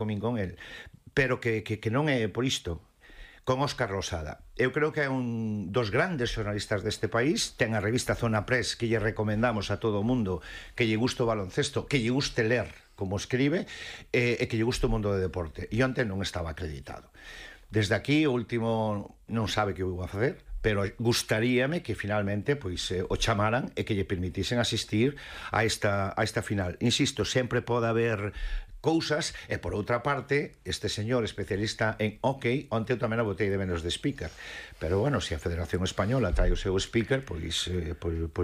comín con el, pero que non é por isto. Con Óscar Losada. Eu creo que é un dos grandes xornalistas deste país, ten a revista Zona Press que lle recomendamos a todo o mundo que lle guste o baloncesto, que lle guste ler como escribe, e que lle guste o mundo de deporte. E onte non estaba acreditado. Desde aquí, o último non sabe que vou a facer, pero gustaríame que finalmente pois o chamaran e que lle permitisen asistir a esta final. Insisto, sempre pode haber cousas, e por outra parte, este señor especialista en hockey, onte eu tamén a botei de menos de speaker, pero bueno, se a Federación Española trae o seu speaker, pois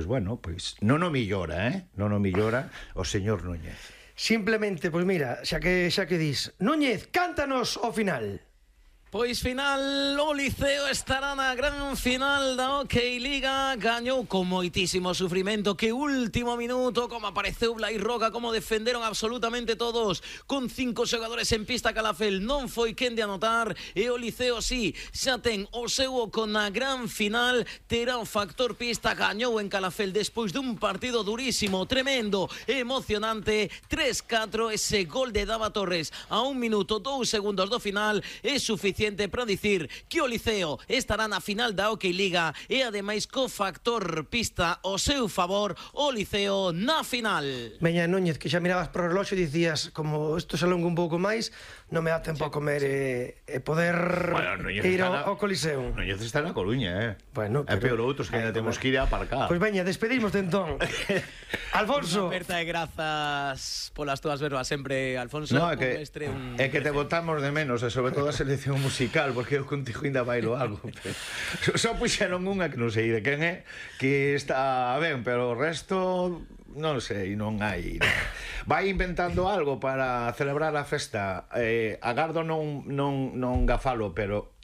bueno, pois non o millora, non o millora o señor Núñez. Simplemente, pois mira, xa que dis, Núñez, cántanos o final. Pois final, o Liceo estará na gran final da Hockey Liga. Gañou con moitísimo sufrimento. Que último minuto, como apareceu Blai Roca, como defenderon absolutamente todos, con 5 xogadores en pista. Calafel non foi quen de anotar, e o Liceo sí, xa ten o seu oco na gran final. Terá o factor pista. Gañou en Calafel despois dun partido durísimo, tremendo, emocionante, 3-4. Ese gol de Dava Torres a 1 minuto 2 segundos do final é suficiente para dicir que o Liceo estará na final da Hockey Liga, e ademais co factor pista ao seu favor, o Liceo na final. Veña, Núñez, que xa mirabas pro reloxo e dicías, como isto se alonga un pouco máis, non me dá tempo a comer e poder ir ao Coliseo. Núñez está na Coruña, Bueno, é peor outros que ainda temos que ir a aparcar. Pois veña, despedimos de entón. Alfonso. Unha aperta de grazas polas túas verbas sempre, Alfonso. No, é que te botamos de menos, e sobre todo a selección musical, porque eu contigo ainda bailo algo. Só puxeron unha que non sei de quen é, que está ben, pero o resto non sei, non hai. Vai inventando algo para celebrar a festa. Agardo non gafalo, pero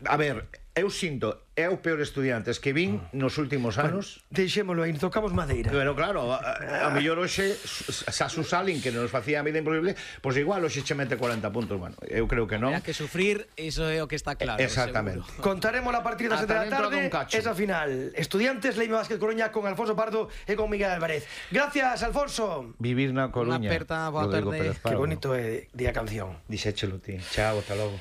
a ver, eu sinto, é o peor estudiantes que vin nos últimos anos. Deixémolo aí, tocamos madeira. Pero claro, a mellor hoxe Sasu Salin, que nos facía a vida imposible, pois igual hoxe che mete 40 puntos. Bueno, eu creo que non. Habrá que sufrir, iso é o que está claro. Exactamente. Contaremos a partir das 7 da tarde esa final. Estudiantes, Leime Vázquez Coruña con Alfonso Pardo e con Miguel Álvarez. Gracias, Alfonso. Vivir na Coruña. Unha aperta, boa tarde. Que bonito é a canción. Dixéchelo ti. Chao, hasta logo.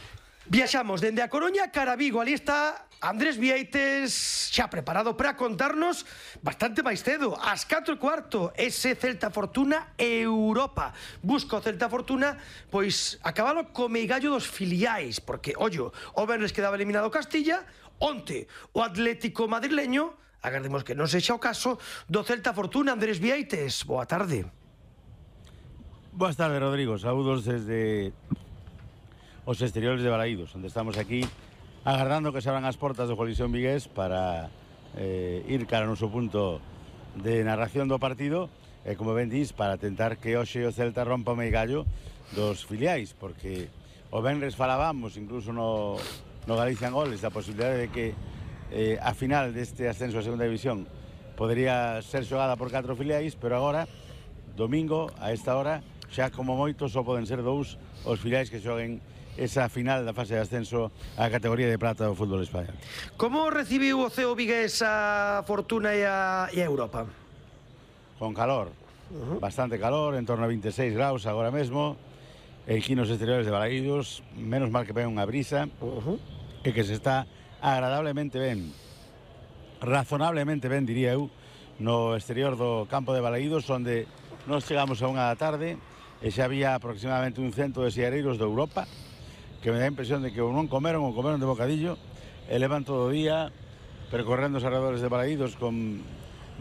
Viaxamos dende a Coruña cara a Vigo. Ali está Andrés Vieites, xa preparado para contarnos bastante máis cedo, ás 4:15, ese Celta Fortuna Europa. Busca o Celta Fortuna, pois, a cabalo co meigallo dos filiais, porque, ollo, o venres quedaba eliminado Castilla, onte o Atlético madrileño, agardemos que non sexa o caso, do Celta Fortuna. Andrés Vieites, boa tarde. Boas tardes, Rodrigo. Saúdos desde os exteriores de Balaídos, onde estamos aquí agardando que se abran as portas do Coliseo Vigués para ir cara ao noso punto de narración do partido, e como ben dis, para tentar que hoxe o Celta rompa o meigallo dos filiais, porque o venres falábamos incluso no Galicia en Goles da posibilidade de que a final deste ascenso a segunda división podería ser xogada por 4 filiais, pero agora, domingo, a esta hora, xa como moito só poden ser 2 os filiais que xoguen esa final da fase de ascenso á categoría de prata do fútbol español. Como recibiu o CEO Vigués a Fortuna e a Europa? Con calor, bastante calor, en torno a 26 graus agora mesmo, aquí nos exteriores de Balaídos, menos mal que pega unha brisa, e que se está agradablemente ben, razonablemente ben, diría eu, no exterior do campo de Balaídos, onde nos chegamos a 1 da tarde, e xa había aproximadamente un cento de siareiros de Europa, que me dá a impresión de que ou non comeron ou comeron de bocadillo, e levan todo o día percorrendo os arredores de Balaídos con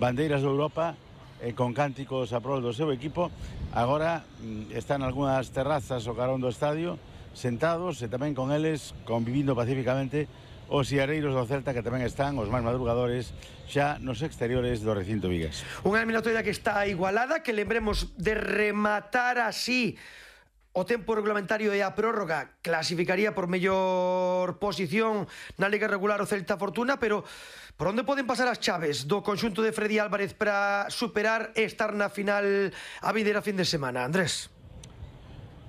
bandeiras de Europa e con cánticos a prol do seu equipo. Agora están algunhas terrazas ao carón do estadio sentados, e tamén con eles convivindo pacíficamente os siareiros do Celta, que tamén están os máis madrugadores xa nos exteriores do recinto vigués. Unha eliminatoria que está igualada, que lembremos de rematar así o tempo regulamentario e a prórroga clasificaría por mellor posición na Liga Regular o Celta Fortuna, pero por onde poden pasar as chaves do conxunto de Freddy Álvarez para superar e estar na final a vindeira fin de semana, Andrés?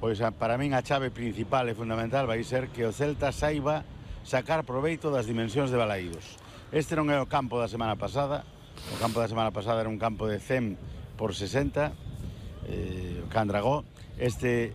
Pois para min a chave principal e fundamental vai ser que o Celta saiba sacar proveito das dimensións de Balaídos. Este non é o campo da semana pasada. O campo da semana pasada era un campo de 100 por 60, o Can Dragó, este